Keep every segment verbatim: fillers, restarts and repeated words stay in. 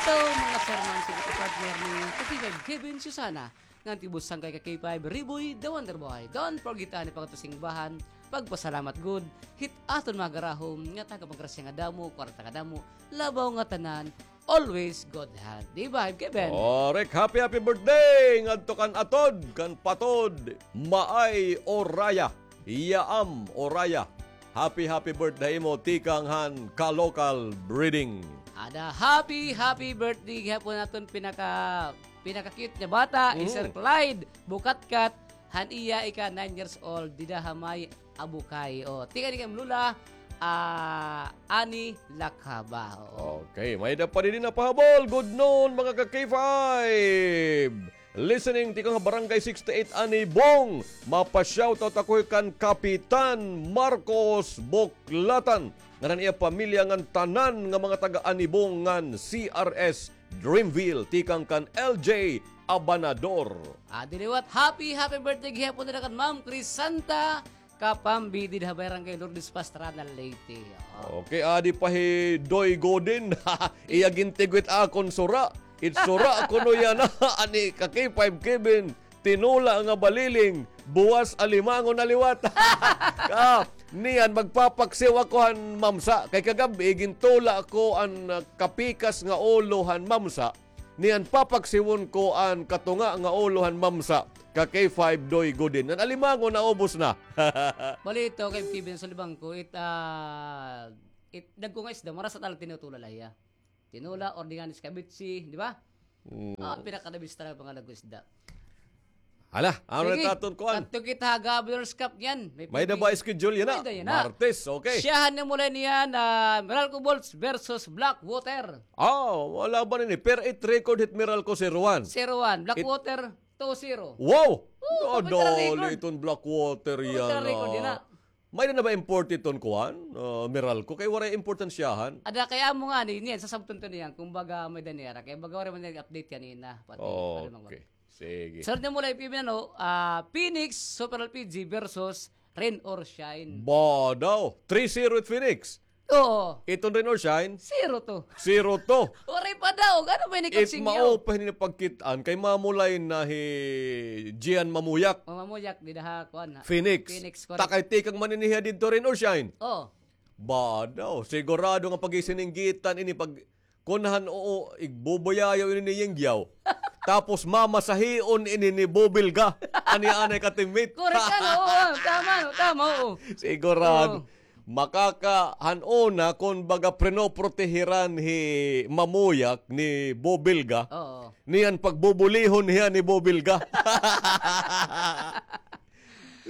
Ito, mga sir, mga sir, partner ni Katigan Kevin Susana, ngan tibus sangkay ka K five Riboy, The Wonder Boy. Don't forget, ani, pagkatusingbahan, pagpasalamat gud hit aton mga garahom nga taga-paggrasya nga damo, kwarta nga damo, labaw nga tanan, always good health. Di ba, Kevin? Correct. Happy, happy birthday ngadto kan Atod, kan Patod, Maay Oraya, Yaam Oraya. Happy, happy birthday mo, tikang han Ka-Local Breeding. Ada happy, happy birthday gihapon aton pinaka, pinaka-cute nga bata, hi Sir Clyde Bukatkat, han iya ika nine years old, dida ha may Abukay. O, tikang kan Lola, ah, Ani Lakaba. Oo. Okay, may-ada pa didi napahabol. Good noon, mga ka-K five. Listening, tikang ha Barangay sixty-eight, Anibong. Mapa-shoutout ako kan Kapitan Marcos Buklatan ngan an iya pamilya ngan tanan nga mga taga-Anibong ngan C R S Dreamville, tikang kan L J Abanador. Adi liwat, happy, happy birthday gihapon nira kan Ma'am Crisanta Kapambi dida ha Barangay Lourdes Pastrana, Leyte. Oo. Okay, adi pa hi Doy Godin. Iya gintigwit akon sura. It sura kuno yana. Ani ka K five Kevin, tinola nga baliling, buwas alimangon na liwat. Ka, niyan magpapaksiw ako han mamsa. Kay kagab-i gintula ko an, ah, kapikas nga ulo han mamsa. Niyan papaksiwon ko an katunga nga ulo han mamsa, ka K five Doy Godin. An alimango naubos na. Balita kay Kevin, sa libang ko, it, ah, it, dagko nga isda, marasa talaga tinutula la hiya. Tinola, ordigan, escabeche, di ba? Mm. Ah, pinakadabis talaga mga dagko isda. Hala, ano na aton kuan? Sige, kadto kita ha Governor's Cup niyan. May-ada ba schedule yana? May-ada yana. Martes, okay. Syahan nimo la niyan, ah, Meralco Bolts versus Blackwater. Ah, wala ba nini? Per eight record hit Meralco zero one. Zero one. Blackwater, two zero. Wow! Oo, computer record. Dali iton Blackwater yana. Computer record yana. May-ada na ba import iton kuan? Ah, Meralco? Kay waray import an syahan. Ada kay amo ngani, niyan, sasabton to niyan. Kumbaga, may-ada nira. Kay baga waray man update kanina. Pati, ano man ba? Okay. Sige. Sir, di mo lang ipibinano, ah, Phoenix Super L P G versus Rain or Shine. Ba daw? Three zero it Phoenix. Oo. Iton Rain or Shine? Zero two. Zero two. Waray pa daw. Ano ba ini? It mao pa ini pagkit-an kay mamulay na hi Gian Mamuyak. O, Mamuyak, dida ha kuan, ha? Phoenix. Phoenix, correct. Takay tikang man ini hiya didto Rain or Shine. Oo. Ba daw? Sigurado nga pag-isininggitan ini pag Kun han-o, igbubuyayaw ini ni Yingyaw. Tapos mamasahion ini ni Bobilga. Ani anay ka teammate. Correct, ano, oo, tama, tama, oo. Sigurado. Oo. Makaka-, han-o na, kun baga, prinoprotehiran hi Mamuyak ni Bobilga. Oo. Niyan pagbubulihon hiya ni Bobilga.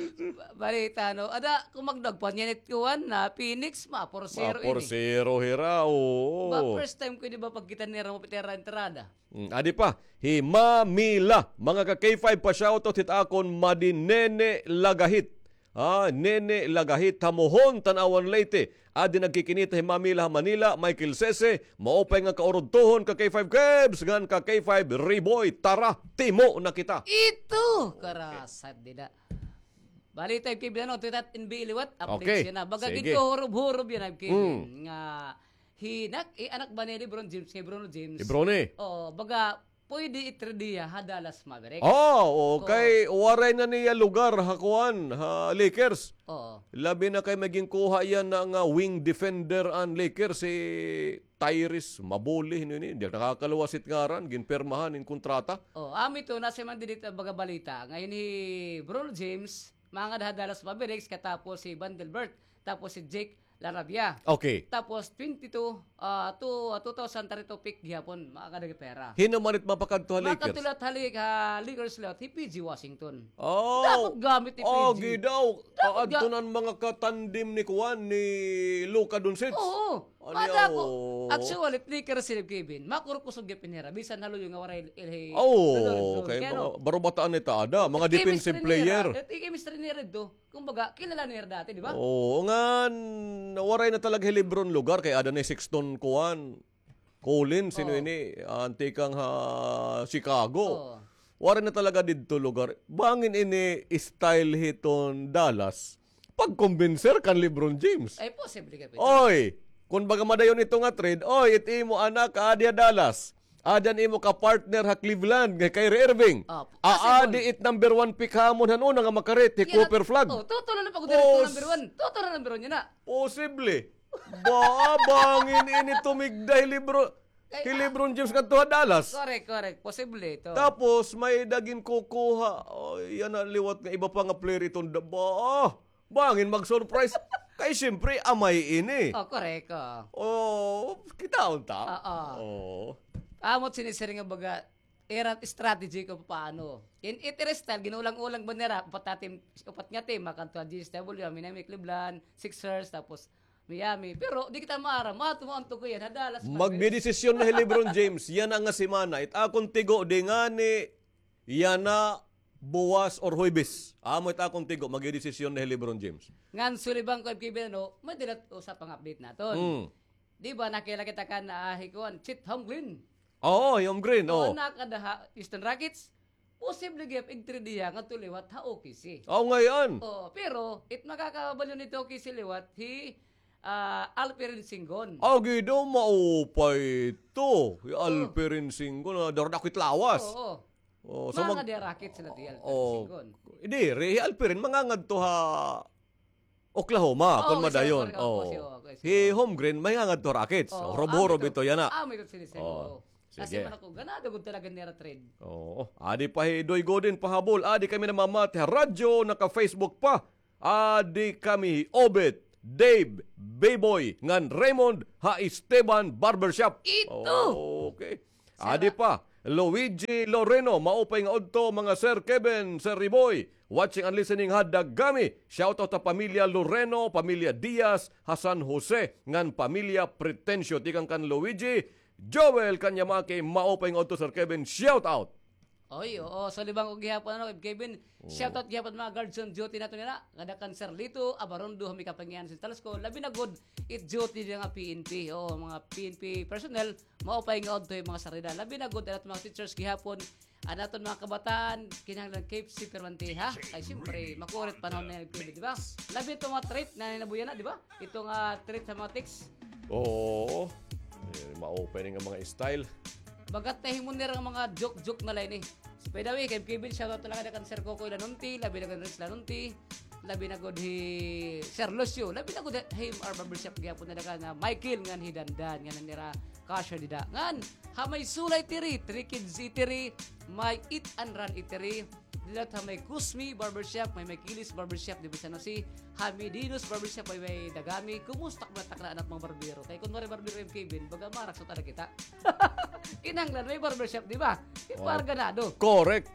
Ba-, balita, no? Ada, kun magdagpan niyan it kuan na Phoenix, ma-four zero ini. Ma-four zero hira, oo. Ba, first time ko ini ba pagkita nira mapitera entrada. Mm, adi pa, hi Mamila, mga ka K five, pa-shoutout hit akon madi Nene Lagahit. Ah, Nene Lagahit, Hamuhon, Tanauan, Leyte. Adi nagkikinita hi Mamila ha Manila, Michael Sese, maupay nga kaurudtuhon ka K five Kebs, ngan ka K five Riboy, tara, timo na kita. Ito, okay. Karasad dida. Balita, Kevin, ano, ito it N B A liwat, update siya na. Okay, sige. Baga ginto hurob-hurob yana, Kevin, nga hi nak-, eh, anak ba ni LeBron James, kay Bruno James? Hi Bronny. Oo, baga, pwede i-trade hiya ha Dallas Mavericks. Oh, okay. Oo. Waray na niya lugar ha kuan, ha Lakers. Oo. Labi na kay may ginkuha yana nga wing defender an Lakers, si Tyrese Mabuli, ano ini? Di nakakaluwas it ngaran, ginpirmahan in kontrata. Oh, amo ito, nasiring man didi it baga balita. Nga hi Bruno James, mangad ha Dallas Mavericks, katapos hi Vanderbilt, tapos hi Jake LaRavia. Okay. Tapos twenty-two, ah, two, ah, two thousand thirty-two pick gihapon, makakadagi pera. Hin-o man it mapakadto ha Lakers? Makakadto liwat ha Lak-, ha Lakers liwat, hi P J Washington. Oh. Dapat gamit ni P J. Agi daw. Dapat ga- Aadto na an mga katandem ni kuan, ni Luka Doncic. Oo. Ano, mada ako. Oo. Actually, Lakers sila, Kevin. Makurukusog gihapon hira. Bisan haluyo nga waray ilhi. Oo, kay mga barubataan ni tada, mga defensive player. Chemistry nira. It chemistry nira ito. Kumbaga, kilala nira dati, di ba? Oo, ngan waray na talaga hi LeBron lugar kay ada ni Sexton kuan. Collins, sino ini? An tikang ha Chicago. Oo. Waray na talaga didto lugar. Bangin ini style hiton Dallas. Pagkumbinser kan LeBron James. Ay, posible ka, Peter. Oy, kun baga madayon ito nga trade, oy, it imo anak, adi ha Dallas. Aada an imo ka-partner ha Cleveland, nga Kyrie Irving. Ah, possible. Aadi it number one pick ha amon han una nga makarit, hi Cooper Flagg. Oh, totoo na pag-direct to number one. Totoo na number one yana. Posible. Ba, bangin ini tumigda hi Lebron, hi Lebron James ngadto ha Dallas. Correct, correct. Posible ito. Tapos, may-ada ginkukuha. Oh, yana liwat nga iba pa nga player iton da-, ba, bangin mag-surprise. Kay siyempre, amay ini. Oh, correct, oh. Oh, kitaon ta. Oo. Oh. Amo it sinisiring nga baga, ira strategy kon paano. In it ira style, ginuulang-ulang ba nira, upat nga team, upat nga team, makanto ha G S W, Miami, Cleveland, Sixers, tapos Miami. Pero di kita maaram, mato mo ang tukoy yana, Dallas Mavericks. Magdedesisyon na hi LeBron James, yana nga semana. It akon tigo, di ngani, yana, buwas or Huwebes. Amo it akon tigo, magdedesisyon na hi LeBron James. Ngan sulibang ko, F K B, no, may dala usa pa nga update naton. Mm. Di ba, nakilala kita kan, ah, hi kuan, Chet Holmgren. Oo, hi Holmgren, oo. Nakada ha Houston Rockets, posible gihap ig-trade hiya ngadto liwat ha O K C. Oo, ngay-an. Oo, pero it makakabalyo nito O K C liwat hi, ah, Alperen Sengun. Agi daw maupay ito. Hi Alperen Sengun, ah, daradako it lawas. Oo. Oh, so mga mag- Rockets sila ti Alperen Sengun. Diri, hi Alperen mangangadto ha Oklahoma, kon madayon. Oh, okay, okay, okay. Hi Holmgren, mangangadto Rockets. Oh, hurob-hurob ito yana. Ah, may ito sinisend. Oh, sige. Kasi man ako, ganado gud talaga nira trade. Oo. Adi pa hi Doy Godin pahabol. Adi kami namamati ha radyo, naka-Facebook pa. Adi kami hi Obet, Dave, Beboy, ngan Raymond, ha Esteban Barbershop. Ito! Okay. Adi pa, Luigi Loreno, maupay nga udto, mga Sir Kevin, Sir Riboy, watching and listening ha Dagami. Shoutout ha pamilya Loreno, pamilya Diaz, ha San Jose, ngan pamilya Pretencio. Tikang kan Luigi, Joel Kanyamaki, maupay nga udto, Sir Kevin, shoutout. Oy, oo, sulibang ko gihapon, ano, Kevin. Shoutout gihapon mga guards on duty naton yana. Kada kan Sir Lito Abarondo, ha may Kapangyarihan Central School. Labi na gud, it duty nga P N P. Oo, mga P N P personnel, maupay nga udto, mga sarida. Labi na gud, an aton mga teachers gihapon, an aton mga kabataan, kinahanglan keep safe permanente, ha? Kay siyempre, makurit panahon na yan, di ba? Labi ito mga trip na ninabuyan na, di ba? Ito nga trip sa mga text. Oo. Eh, maupay ni nga mga style. Bagat na himo nira nga mga joke-joke na line, eh. So, by the way, kay Kevin, shoutout talaga kan Sir Kokoy Lanunti, labi na kan Rich Lanunti, labi na gud hi Sir Lucio, labi na gud hi M R Barbershop gihapon na daga nga Michael ngan hi Dandan, ngan nira cashier dida. Ngan, ha may Sulay Eatery, Three Kids Eatery, may Eat and Run Eatery, dida ha may Kusmi Barbershop, may, may Kilis Barbershop, di ba, sa San Jose, ha may Dino's Barbershop, may, may Dagami. Kumusta ka, takna, anak, mga barbero? Kay kun waray barbero hi Kevin, baga marak sa talaga kita. Kinahanglan may barbershop, di ba? Oh. Para ganado. Correct.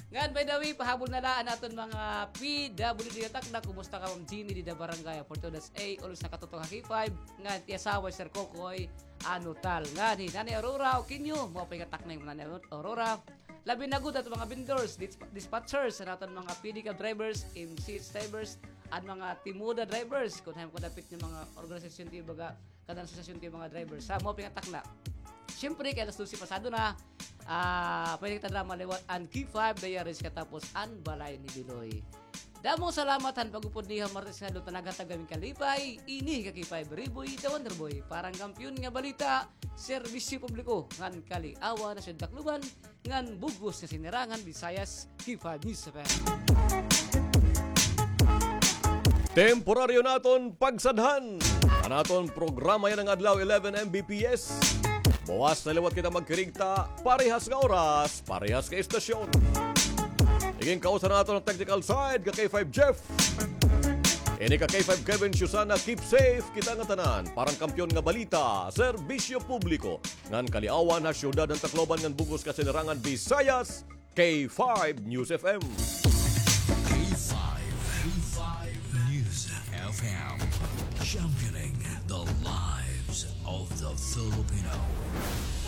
Ngan, by the way, pahabol na la an aton mga P W D nga takna. Kumusta ka, Ma'am Jeannie, dida Barangay Afortuna's A, always nakatutok ha K five. Ngan, it iya asawa, Sir Kokoy, ano tal. Ngan, hi Nanay Aurora, Okinyo, maupay nga takna, Nanay Aurora. Labi na gud aton mga vendors, dis-, dispatchers, an aton mga P D cab drivers, M C H drivers, an mga Timoda drivers, kun hain ko dapit nga mga organisasyon ti baga, kada asosasyon ti mga drivers. Ha, maupay nga takna. Siyempre, kay alas dose pasado na, ah, pwede kita drama liwat an K five Diaries katapos an Balay ni Biloy. Damo salamat han pag-upod niyo ha Martes nga adlaw, naghatag kami hin kalipay, ini ka K five Riboy, the Wonder Boy, para han kampiyon nga balita, serbisyo publiko, ngan kaliawan ha Siyudad Tacloban, ngan bug-os nga sinirangan Visayas, K five News F M. Temporaryo naton pagsadhan an aton programa yana nga adlaw, eleven M B P S. Buwas na liwat kita magkirigta, parehas nga oras, parehas nga estasyon. Igin kausa naton an technical side, ka K five Jeff. Ini ka K five Kevin Susana, keep safe kita nga tanan. Para han kampiyon nga balita, serbisyo publiko, ngan kaliawan ha siyudad han Tacloban ngan bug-os nga sinirangan Visayas, K five News F M. K five, K five News F M, championing the lives of the Filipino.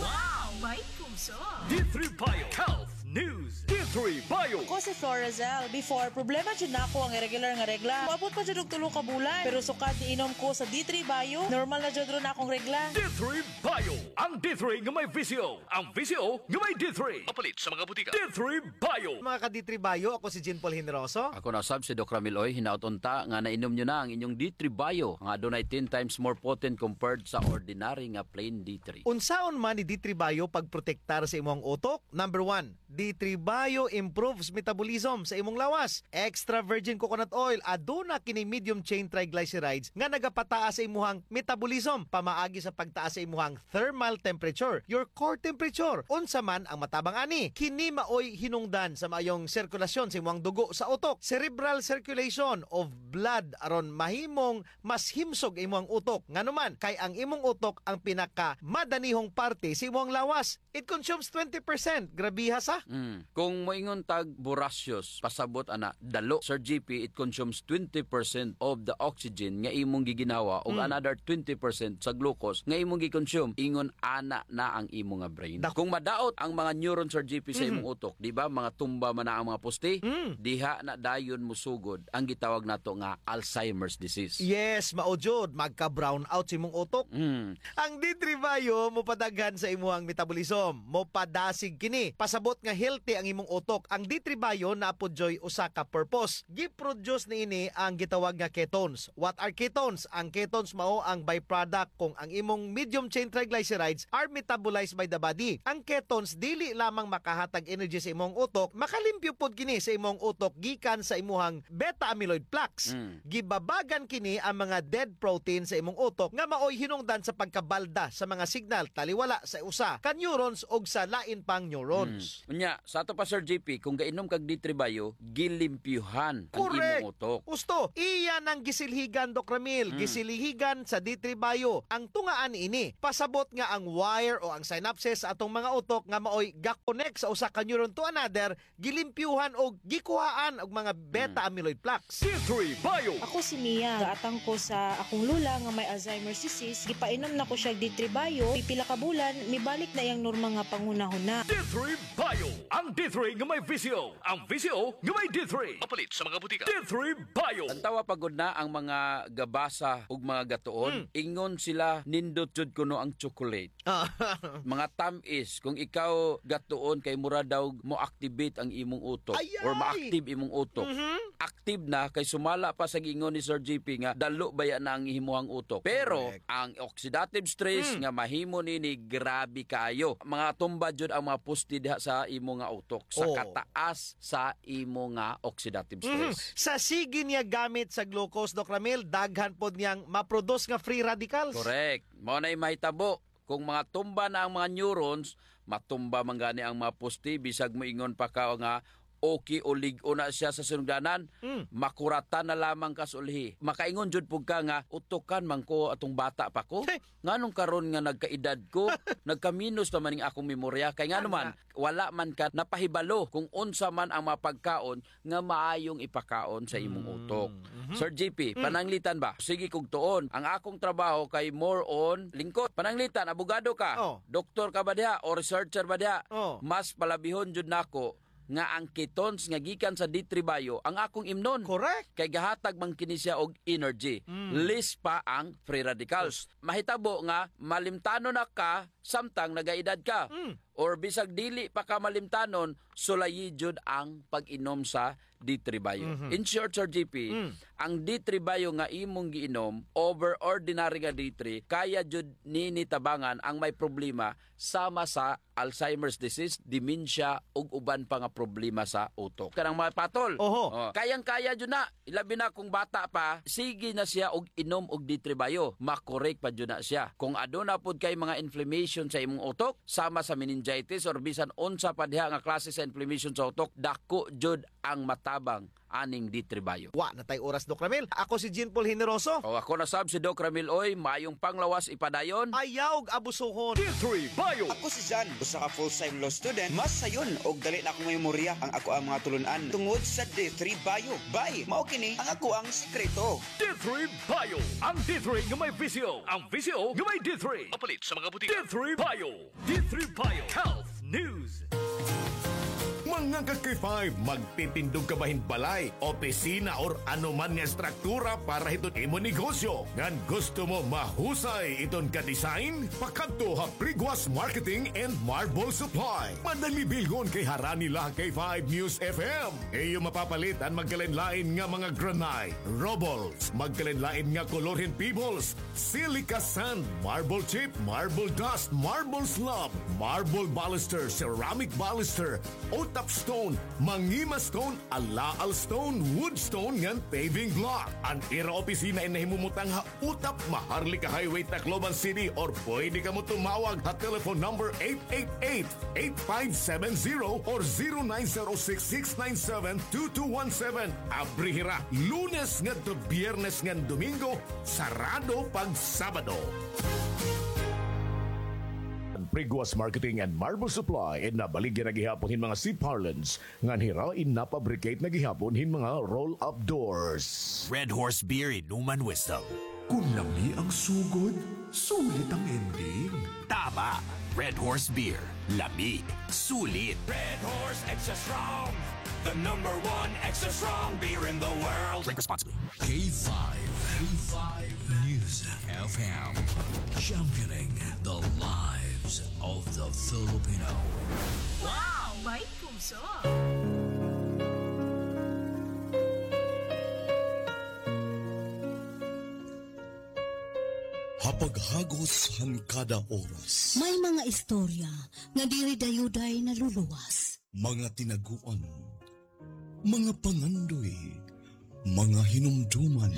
Wow! May puso! D three Bio Health News. D Three Bio. Ako si Florazel. Before, problema jud nako ang irregular nga regla. Moabot pa jud og tulo ka bulan. Pero sukad niinom ko sa D three Bio, normal na jud ron akong regla. D three Bio. Ang D three nga may V C O. Ang V C O nga may D three. Mapalit sa mga butika. D three Bio. Mga ka-D three Bio, ako si Jean Paul Generoso. Ako na sab si Doc Ramil Oy. Hinaot unta nga nainom nyo na ang inyong D three Bio, nga adunay ten times more potent compared sa ordinary nga plain D three. Unsaon man ni D three Bio pagprotektar sa imong utok? Number one, D three Bio improves metabolism sa imong lawas. Extra virgin coconut oil, aduna kini medium chain triglycerides nga nagapataas sa imuhang metabolism pamaagi sa pagtaas sa imuhang thermal temperature, your core temperature. Unsa man ang matabang ani? Kini maoy hinungdan sa maayong sirkulasyon sa imuhang dugo sa utok, cerebral circulation of blood, aron mahimong mas himsog imuhang utok. Ngano man? Kay ang imong utok ang pinakamadanihong parte sa imuhang lawas. It consumes twenty percent. Grabiha sa. Mm. Kung moingon tag voracious, pasabot ana, dalo. Sir G P, it consumes twenty percent of the oxygen nga imong giginhawa ug Mm. another twenty percent sa glucose nga imong gi-consume. Ingon ana na ang imo nga brain. Dak- Kung madaot ang mga neuron, Sir G P, sa Mhm. imong utok, di ba, mga tumba man na ang mga poste, Mm. diha na dayon mosugod ang gitawag nato nga Alzheimer's disease. Yes, mao jud, magka-brownout sa imong utok. Mm. Ang D three Bio mopadaghan sa imuhang metabolism. Mopadasig kini. Pasabot nga healthy ang imong utok. Ang D three Bio naa pod dyoy usa ka purpose. Gi-produce niini ang gitawag nga ketones. What are ketones? Ang ketones mao ang byproduct kung ang imong medium chain triglycerides are metabolized by the body. Ang ketones dili lamang makahatag energy sa imong utok, makalimpyo pod kini sa imong utok gikan sa imuhang beta amyloid plaques. Mm. Gibabagan kini ang mga dead protein sa imong utok nga maoy hinungdan sa pagkabalda sa mga signal taliwala sa usa ka neurons ug sa lain pang neurons. Mm. Unya, sa ato pa, Sir J P, kung gainom kag D three Bio, gilimpyuhan ang Correct. imong utok. Husto, iya nang gisilhigan, Doc Ramil, Mm. gisilhigan sa D three Bio. Ang tunga ani ini, pasabot nga ang wire o ang synapses sa atong mga utok nga maoy ga-connect sa usa ka neuron to another, gilimpyuhan o gikuhaan og mga beta Mm. amyloid plaques. D three Bio. Ako si Mia. Gaatang ko sa akong lola nga may Alzheimer's disease. Gipainom na ko siya D three Bio. Pipila ka bulan, mibalik na iyang normal nga panghunahuna. D three Bio. Ang D three nga may V C O. Ang V C O nga may D three. Mapalit sa mga butika. D three Bio. Tan-awa pa gud na ang mga gabasa ug mga gatuon. Hmm. Ingon sila, nindot jud kuno ang chocolate. Ah. Mga tam-is, kung ikaw gatuon kay mura daw mo-activate ang imong utok Ay, or ay! ma-active imong utok. Mhm. Active na kay sumala pa sa giingon ni Sir J P nga dalo baya na ang imuhang utok. Pero Correct. ang oxidative stress Hmm. nga mahimo nini grabe kaayo. Mga tumba jud ang mga poste diha sa imo nga utok sa Oh. kataas sa imo nga oxidative Mhm. stress. Sa sige niya gamit sa glucose, Doc Ramil, daghan pod niyang ma-produce nga free radicals. Correct. Mao na'y mahitabo. Kung mga tumba na ang mga neurons, matumba man gani ang mga poste, bisag moingon pa ka nga okay o lig-on na siya sa sinugdanan, Mm. makuratan na lamang ka sa ulhi. Makaingon jud pud ka nga, "Utokan man ko atong bata pa ko. Hey! Nganong karon nga nagkaedad ko, nagkaminos naman ning akong memorya?" Kay ngano man, Ana. wala man ka napahibalo kung unsa man ang mga pagkaon nga maayong ipakaon sa imong Mm. utok. Mhm. Sir J P, Mm. pananglitan ba? Sige kog tuon. Ang akong trabaho kay more on lingkod. Pananglitan, abogado ka, Oh. doktor ka ba diha, o researcher ba diha? Oh. Mas palabihon jud nako nga ang ketones nga gikan sa D three Bio ang akong imnon. Correct. Kay gahatag man kini siya og energy. Mm. Less pa ang free radicals. Mahitabo nga malimtanon na ka samtang nagaedad ka. Mm. Or bisag dili pa ka malimtanon, sulayi jud ang pag-inom sa D three Bio. Mhm. In short, Sir J P, Mm. ang D three Bio nga imong giinom, over ordinary nga D three, kaya jud nini tabangan ang may problema sama sa Alzheimer's disease, dementia, ug uban pa nga problema sa utok. Kanang mga patol. Oho. Oh, kayang-kaya jud na. Ilabi na kung bata pa, sige na siya og inom og D three Bio. Makorek pa jud na siya. Kung aduna pod kay mga inflammation sa imong utok, sama sa meningitis or bisan unsa pa diha nga klase sa inflammation sa utok, dako jud ang matabang aning D three Bio. Wa na tay oras, Doc Ramil. Ako si Jean Paul Generoso. O, ako na sab si Doc Ramil Oy. Maayong panglawas ipadayon. Ayaw og abusuhon. D three Bio. Ako si Jan, usa ka full-time law student. Mas sayon og dali na akong memorya ang akoang mga tulun-an tungod sa D three Bio. Bay, mao kini ang akoang sikreto. D three Bio. Ang D three nga may V C O. Ang V C O nga may D three. Mapalit sa mga butika. D three Bio. D three Bio Health News. Ngan ka K five, magtitindog ka ba hin balay, opisina, or ano man nga estruktura para hiton imo negosyo? Ngan gusto mo mahusay iton ka-design? Pakadto ha Priguas Marketing and Marble Supply. Madali bilgon kay harani la ha K five News F M. Iyo mapapalit an magkalain-lain nga mga granite, rubbles, magkalain-lain nga kolor hin pebbles, silica sand, marble chip, marble dust, marble slab, marble baluster, ceramic baluster, Otap stone, Mangima stone, Alaal stone, wood stone ngan paving block. An ira opisina in nahimumutang ha Otap, Maharlika Highway, Tacloban City, or pwede kamo tumawag ha telephone number eight eight eight, eight five seven zero or zero nine zero six, six nine seven, two two one seven. Abri hira Lunes ngadto Biyernes ngan Domingo, sarado pag Sabado. An Priguas Marketing and Marble Supply in nabaligya na gihapon hin mga C-parlance ngan hira in napabricate na gihapon hin mga roll-up doors. Red Horse Beer, inuman wisdom. Kun lami ang sugod, sulit ang ending. Tama. Red Horse Beer. Lami. Sulit. Red Horse Extra Strong. The number one extra strong beer in the world. Drink responsibly. K five. K five News F M. Championing the lives of the Filipino. Wow! May puso! Ha paghagos han kada oras. May mga istorya nga diri dayuday naluluwas. Mga tinaguan, mga pangandoy, mga hinumduman.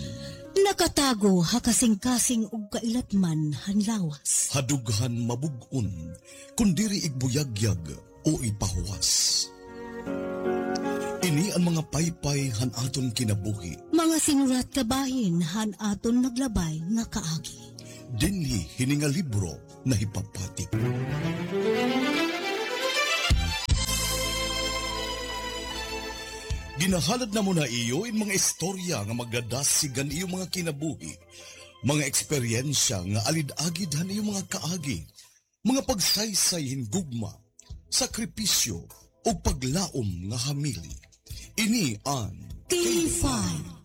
Nakatago ha kasingkasing ug kailatman han lawas. Ha dughan mabug-on, kun diri igbuyagyag o ipahuwas. Ini an mga paypay han aton kinabuhi. Mga sinurat kabahin han aton naglabay nga kaagi. Dinhi hini nga libro nahipapatik. Ginahalad namon ha iyo in mga istorya nga magadasig han iyo mga kinabuhi, mga eksperyensya nga alid-agid han iyo mga kaagi, mga pagsaysay hin gugma, sakripisyo, ug paglaom nga hamili. Ini an K five